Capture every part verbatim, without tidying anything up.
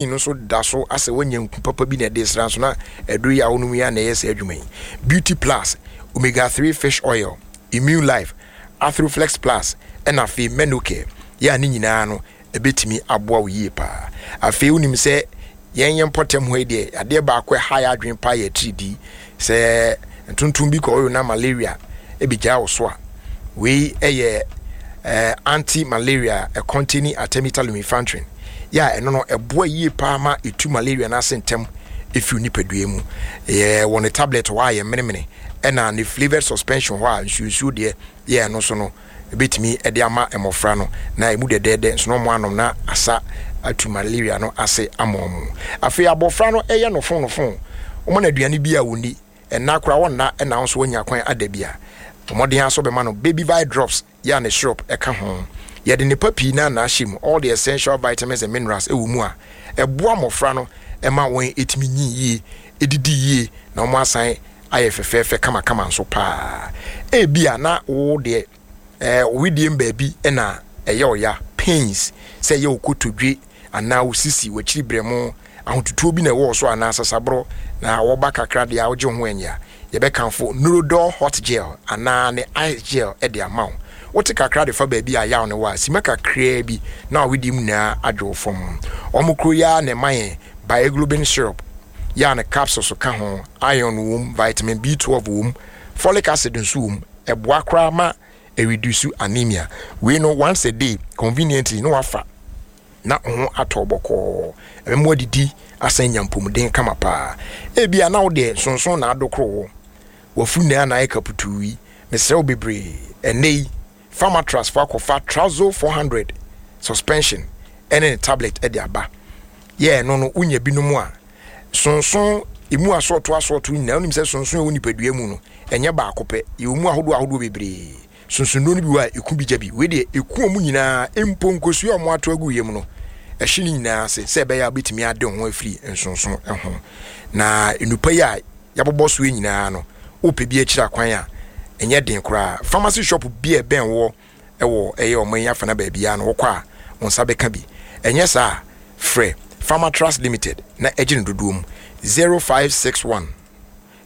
No nso da so asɛ woanya nku papa bi na ɛde sra nso na aduru yi a wonom yi a na ɛyɛ saa adwuma yi. Beauty Plus, Omega three Fish Oil, Immune Life, Arthroflex Plus, ɛna afei Menocare yɛ a ne nyinaa no ɛbɛtumi aboa wo yie paa. Afei wonim sɛ yɛn yɛn mpɔtam hɔ yi deɛ, adeɛ baako ɛha yɛ adwene paa yɛ atiridii. Sɛ ntontom bi kɔ ɔyɔ na malaria ɛbɛgyaa wo so a, wei ɛyɛ eh, anti-malaria, ɛcontaining artemether lumefantrine yɛ a ɛno no ɛboa yie paa ma ɛtu malaria no ase ntɛm ɛfiri nipadua mu. Yɛ wɔ ne tablet hɔ a yɛ menemene, ɛna ne flavored suspension hɔ a nsuonsuo deɛ yɛ ɛno so no ɛbɛtumi ɛde ama mmɔfra no na ɛmu dɛdɛɛdɛ nso na ɔmo anom na asa atu malaria no ase ama ɔmo. Afei abɔfra no ɛyɛ nofo nofo, wɔn na aduane bi a wɔnni ɛna koraa wɔnna, ɛna nso wɔnya kwan ada bi a ɔmɔden aso bɛma no Baby Vi Drops yɛ a ne syrup ɛka ho. Yɛde nnepa pii na na ahyɛ mu, all the essential vitamins and minerals ɛwɔ mu a ɛboa mmɔfra no ɛma wɔn ɛtumi nyin yie, ɛdidi yie, na wɔn asan ayɛ fɛfɛɛfɛ kamakama nso paa. Ebi a na wo deɛ ɛɛ owidie baabi ɛna ɛyɛ ɔya, pains, sɛ ɛyɛ okotodwe anaa osisi, w'akyiri brɛmo, ahotutuo bi na ɛwɔ so anaa sasaborɔ na wɔba kakra deɛ a wogye ho anya, yɛbɛkamfo Neurodol Hot Gel anaa ne ice gel ɛde ama wo. Wote kakra de fa baabi a yaw ne wɔ a, sima kakraa bi na awedie mu nyinaa adwo fam. Ɔmo kuro yi ara na ɛma yɛn Bioglobin syrup yɛ a ne capsules ka ho. Iron wɔ mu, vitamin B twelve wɔ mu, folic acid nso wɔ mu. Ɛboa koraa ma ɛreduce anemia. Wei no, once a day conveniently na wafa na ho atɔ bɔkɔɔ, ɛbɛma adidi asan nya mpɔmuden kama paa. Ebia na wo deɛ sonson na adokoro wo wafu nyinaa na ayɛ kaputuu yi, mesrɛ wo bebree, ɛnɛ yi Pharmatrust fo akɔfa Trazo four hundred suspension ɛne ne tablet ɛde aba. Yɛ ɛno no wonya binom a sonson emu asɔɔto asɔɔto nyinaa. Wonim sɛ sonson ɛwɔ nipadua mu no ɛnyɛ baako pɛ, yɛwɔ mu ahodoɔ ahodoɔ bebree. Sonsonnuro no bi wɔ a ɛku bi gya bi, wei deɛ ɛku ɔmo nyinaa, mpo nkosua a ɔmo ato agu yam no ɛhye ne nyinaa ase sɛ ɛbɛyɛ a wobɛtumi ade ho afiri nsonson ho. Na nnupa yi a yɛabobɔ so yi nyinaa no, wopɛ bi akyiri akwan a, ɛnyɛ den koraa. Pharmacy shop bi a ɛbɛn wɔ ɛwɔ ɛyɛ ɔmo yi afana baabiara no, wokɔ a wo nsa bɛka bi. Ɛnyɛ saa, frɛ Pharmatrust Limited na ɛgye no dodoɔ mu zero five six one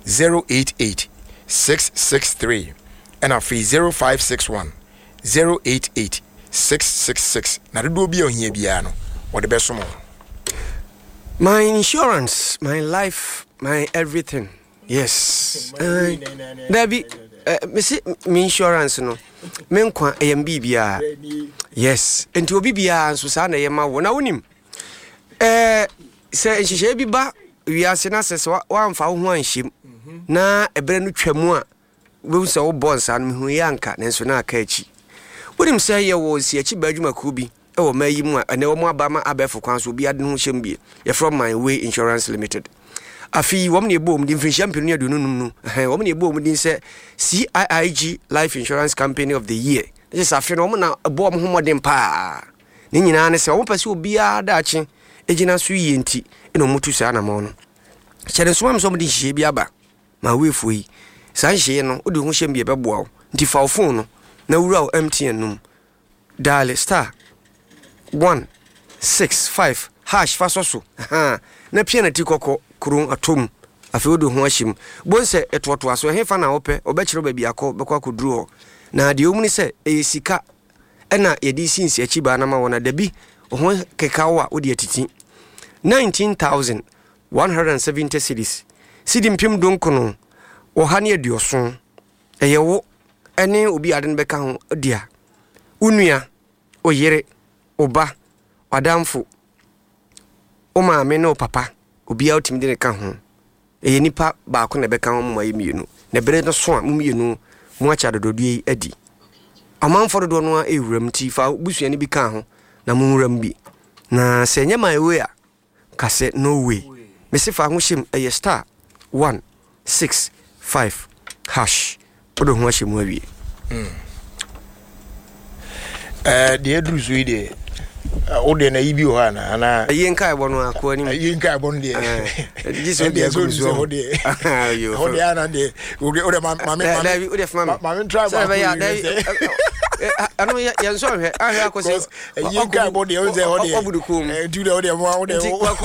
zero eight eight six six three, ɛna afei zero five six one zero eight eight six six six, na dodoɔ bi a ohia biara no wɔde bɛsom wo. My insurance, my life, my everything. Yes. Uh, Dabi, uh, mese me insurance no, me nkwa ɛyɛ m biribiara. Yes. Nti obi biara nso saa na ɛyɛ ma wo. Na wonim, eh, sɛ nhyehyɛeɛ bi ba wiase na sɛ sɛ woamfa wo ho anhyɛm na ɛberɛ no twa mu a, wobɛhu sɛ wobɔ nsa no mehu yɛ anka nanso na aka akyi. Wonim sɛ yɛwɔ nsiakyi baa adwumakuo bi ɛwɔ ma yi mu a ɛnɛ wɔn aba ma abɛɛfo kwan so obi ade ne ho hyɛm bie, yɛfrɛ My Way Insurance Limited. Afei wɔn na ɛbɔ wɔn din mfirinhyia mpem ne aduonu num no, ɛhɛn, wɔn na ɛbɔ wɔn din sɛ C I I G Life Insurance Company of the Year. Ne sɛ afe no wɔn na ɛbɔ wɔn ho mmɔden paa. Ne nyinaa ne sɛ wɔn pɛ sɛ obiara daakye gyina so yie, nti ɛna wɔn tu saa anamɔ no. Hyɛ ne nsoma mi sɛ wɔn de nhyehyɛ bi aba ma aweefoɔ yi. Saa nhyehyɛ no wode ho hyɛm bi, ɛbɛboa wo. Nti fa wo phone no na wura wo M T N no mu, dial star one six five hash, fa sɔ so na pia na ti kɔkɔ kuro atom. Afei wode ho ahyɛ mu bon sɛ ɛtoatoa so ɛhe fa na wopɛ, ɔbɛkyerɛ baabi akɔ bɛkɔ akɔduru hɔ. Na deɛ ɔmu ne sɛ ɛyɛ sika ɛna yɛde si nsi akyi baa no ma wɔ na dabi ho keka wo a wode atiti nineteen thousand one hundred and seventy cedis, sidi mpem dunkono ɔha ne aduɔson. Ɛyɛ wo ɛne obi ade no bɛka ho dea, wo nua, wo yere, wo ba, w'adamfo, wo maame ne wo papa, obiara wotumi de ne ka ho. Ɛyɛ nipa baako na ɛbɛka ho, mo ayɛ mmienu na ɛberɛ no so a mo mmienu mo akyɛ adodɔdeɛ yi adi. Ɔmanfoɔ dodoɔ no a ɛwura mu, nti fa busuani bi ka ho na mo nwura mu bi. Na sɛ ɛnyɛ My Way a, ka sɛ no way. Mese fa ho hyɛm, ɛyɛ star one six five hash, wode ho ahyɛ mu awie. Ɛɛ, deɛ aduru so yi deɛ, wo deɛ na yi bi wɔ hɔ ana anaa? Ɛyi nka ɛbɔ no akoa anim. Ɛyi nka ɛbɔ no deɛ, gye sɛ wode agu so. Hɔ deɛ, hɔ deɛ ana deɛ wode wode ma ma me dabi, wode fama me. Ma me try. Sɛ ɛbɛyɛ a dabi, ɛno yɛn nso ahwɛ ahwɛ akɔ sɛ ɛyi nka ɛbɔ deɛ, wode sɛ hɔ deɛ ɔbudu kom. Nti wode wode mo wode nti